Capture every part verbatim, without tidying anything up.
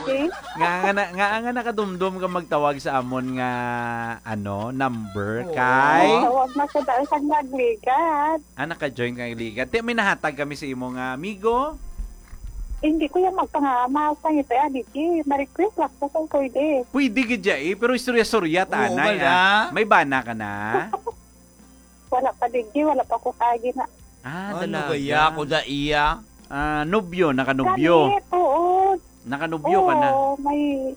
King. Nga, nga, na, nga, nga nakadumdom ka magtawag sa amon nga, ano, number Oo. kay? Tawag na ko dahil sa nagligad. Ah, naka-join ka nagligad. Ti, may nahatag kami sa imo nga amigo. Hindi ko yan magpangama sa ngiti, ah, Digi. Ma-request lang ko kung pwede. Pwede gid ya eh, pero istorya-storya ta Oo, anay, wala. ah. May bana ka na? Wala pa, Digi. Wala pa ko kagi na. Ah, Ano dalaga. kaya ako da iya? Ah, nobyo, nakanobyo. Kami, oo. Nakanobyo ka na. Oo, may,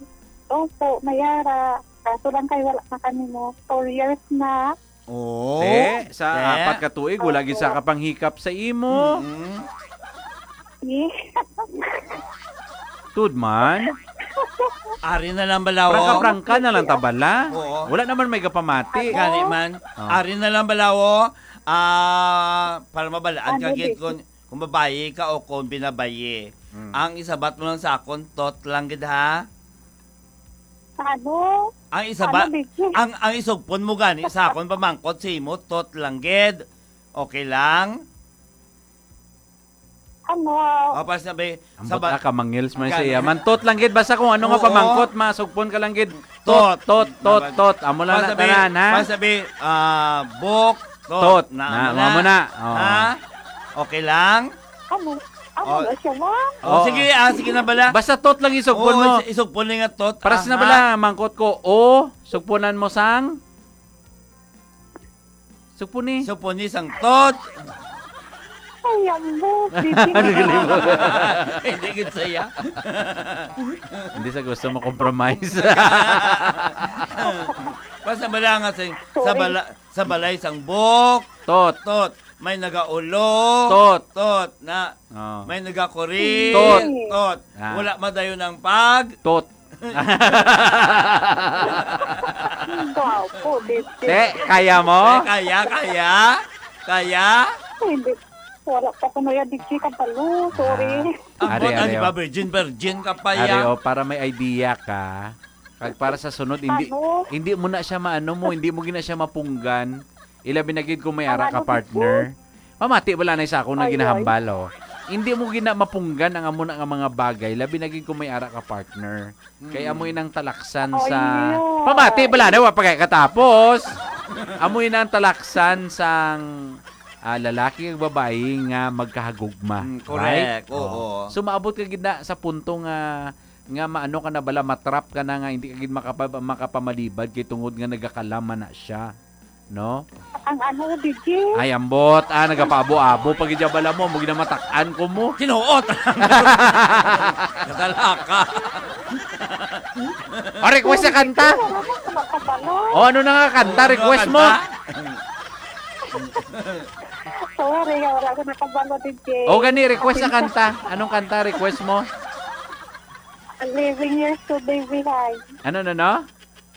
opo, may ara. Kaso lang kay wala na kami mo. Four years na. Oh. Te, sa Te. apat ka tuig, wala gid sa Opo. kapanghikap sa imo. Mm-mm. Eh. Tud man. Ari na lang bala, oh. Prangka-prangka na lang ta bala. Oo. Wala naman may kapamati. Gani man. Oh. Ari na lang bala, oh. Ah, para mabalaan ka Ano, gid Didi? kung, kung babayi ka o kung binabayi. Mm. Ang isabat mo lang sa akon, tot lang gid, ha? Ano? Ang isa Ano, ba, Didi? ang, ang isugpon mo gani sa akon pamangkot sa imo, tot lang gid. Okay lang? Ano? O, pas na ba, Ambot sa ba- na, kamangils man Gani. siya. Mantot lang gid, basta kung ano nga Oo. pamangkot, masugpon ka lang gid. Tot. Tot, tot, tot, Dapat tot. Amo lang na Pasabi, tanan, ha? pasabi, ah, bok, tot. Tot. Na, Na, amo na. amo na. Oh. Ha? Okay lang? Amo, amo Oh. na siya, ma'am. Oh, Oh. sige, ah, sige na bala. Basta tot lang isugpon Oo, mo. is-, isugpon lang nga tot. Paras na Aha. bala, mangkot ko. O, sugpunan mo sang? Sugpon ni. Sugpon ni sang tot. Ay, ambot, Didi. Hindi gid saya. Hindi sa gusto mo compromise. Basta bala nga sa, sa Sorry. bala-, sa balay sang bok. Tot. Tot. May nagaulo. Tot. Tot. Na. Oh. May nagakuri. Tot. Tot. Ah. Wala madayon ang pag. Tot. Gwapo, Didi. Te, kaya mo? Eh, kaya, kaya? Kaya? Hindi. Wala pa ko na yan, Didi, kabalo. Sorry. Ah. Ang Ari, buwan, ari, ano ba, oh. virgin, virgin ka pa Ari, ya? oh, para may idea ka. Kag para sa sunod, hindi, Ano? hindi mo na siya maano mo, hindi mo gina siya mapunggan. Ilabi na gid kung may Ang ara ka ano, partner. Pamati wala na sa akong Ay, ay. ginahambal, oh. Hindi mo gina mapunggan ang amo na nga mga bagay, labi na gid kung may ara ka partner. Kay Mm. amo inang talaksan Ay, sa yun. Pamati bala na wa pa kay katapos. Amo inang talaksan sang, ah, lalaki ug babayi nga magkahagugma. Mm, correct. Right? Oo. Oh. So, maabot ka gid na sa punto nga, nga maano ka na bala, matrap ka na nga hindi ka gid makapa-, makapamalibad kay tungod nga nagakalaman na siya. No? Ang ano, Didi? Ay, ambot. Ah, nagapaabo-abo pa gid bala mo. Mo ginamatak-an ko mo. Kinuot. Kadalaka. O, request sa kanta. Wala na ako nakabalo. O, ano na nga kanta? Ano Request mo. kanta? Sorry, wala ko nakabalo, Didi. O, gani, request sa Okay. kanta. Anong kanta request mo? Living yesterday behind. Ano, no, no?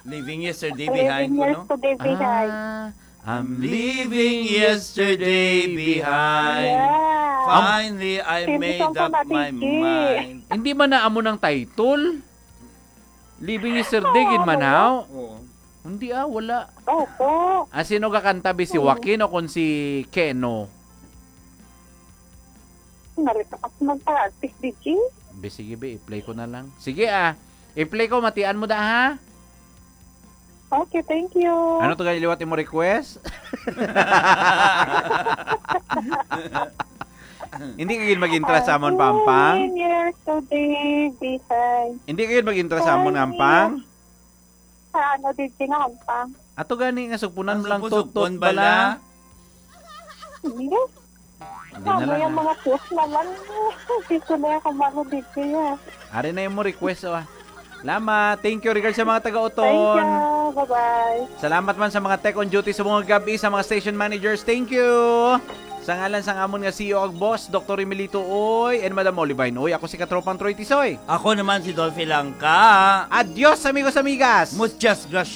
Living yesterday Living behind ko, no? yesterday behind. Ah, I'm leaving yesterday behind. Yeah. Finally, I Same made song up ko na, my Didi. mind. Hindi man na amo ng title. Living yesterday, Oo, gid man, ano? haw? Oo. Hindi, ah, wala. Opo. Ah, sino kakanta, bi? Si Oo. Joaquin o kung si Keno? Narito ako magpa-artist, Didi. Bi, sige, bi, i-play ko na lang. Sige, ah. I-play ko, matian mo da, ha? Okay, thank you. Ano to, gani liwat imo request? Hindi ka gid mag-intra sa amon, Pampang? Ten years today behind. Hindi ka gid mag-intra sa amon, Ten Ampang? years. Sa ano, Didi, nga Ampang? Ato gani nga sugpunan Ang mo lang sugpon-sugpon tutot bala. bala. Hindi. Hindi na Tama lang, yung ah. mga post naman. Hindi ko na yung kamalo dito, ah. Ari na yung mo request, oh, ah. Salamat. Thank you. Regards sa mga taga-Oton. Thank you. Bye-bye. Salamat man sa mga tech on duty sa mga gabi, sa mga station managers. Thank you. Sa ngalan sang amon nga C E O ag boss, Doktor Emilito Uy, and Madam Olivine Uy, ako si Katropang Troy Tisoy. Ako naman si Dolphy Langka. Adios, amigos, amigas. Muchas gracias.